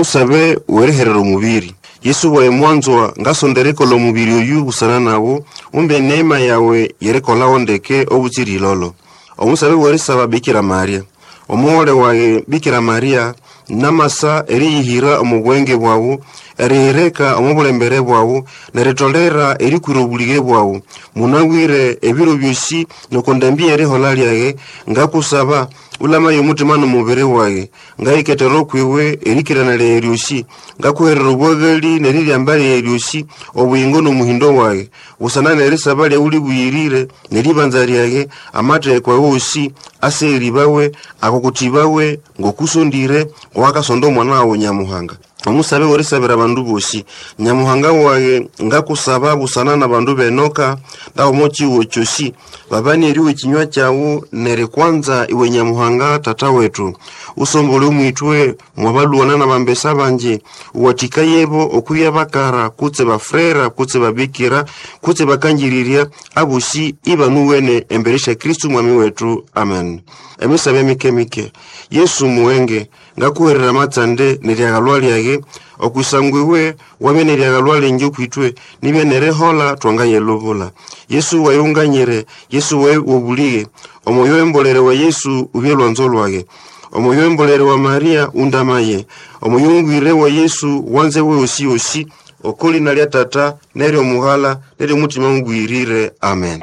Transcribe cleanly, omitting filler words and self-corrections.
Omusabe weriherera omubiri. Yesu waye mwanzwa, ngasonda erikola omubiri oyu busana nawu, umbe eneema yawe yerikolawo ndeke obutsira ilolo. Omusabe werisaba Bikira Maria. Omughole wage Bikira Maria, namasa eriyihira omu bwenge bwawu, erihirika omu bulembere bwawu, neritolera erikwira obulige bwawu. Munabwire ebiro byosi noko ndambi y'erihola lyage, ngakusaba ulamaye omutima n'omubiri wage. Ngayiketera okwiwe erikirana lyage lyosi, ngakuherera obwagali n'eriryamba lyage lyosi, obuyingo n'omuhindo wage. Busana n'erisaba lyawu libuyirire n'eribanza lyage, amatheko awosi aseribawe, akukutibawe ngokusondire wakasonda omwana wawu Nyamuhanga. Omusabe werisabira abandu bosi. Nyamuhanga wage, ngakusaba busana n'abandu b'enoka ndaomo chiwo kyosi, babani eriwe ekinywa kyawu nerikwanza iwe Nyamuhanga tata wetu. Usombole omwitwe mwabalwana n'abambesa bangi, uwathikayebo okwibya bakara kutse bafrera kutse babikira kutse bakangirirya, abosi ibanuwene embere sya Kristu mwami wetu. Amen. Emisabe mike-mike. Yesu muwenge, ngakuherera amatsande neryagalwa lyage, okwisangwa iwe wabya neryagalwa lingi okwitwe, nibya nerihola twangayelubula. Yesu waye unganyire, Yesu waye wobulige, omwoyo w'embolere wa Yesu ubye lwanzo lwage. Omwoyo w'embolere wa Maria undamaye, omwoyo mubwire wa Yesu wanze we osi osi, oko lina lya Tata n'ery'Omughala n'ery'Omutima Mubwirire. Amen.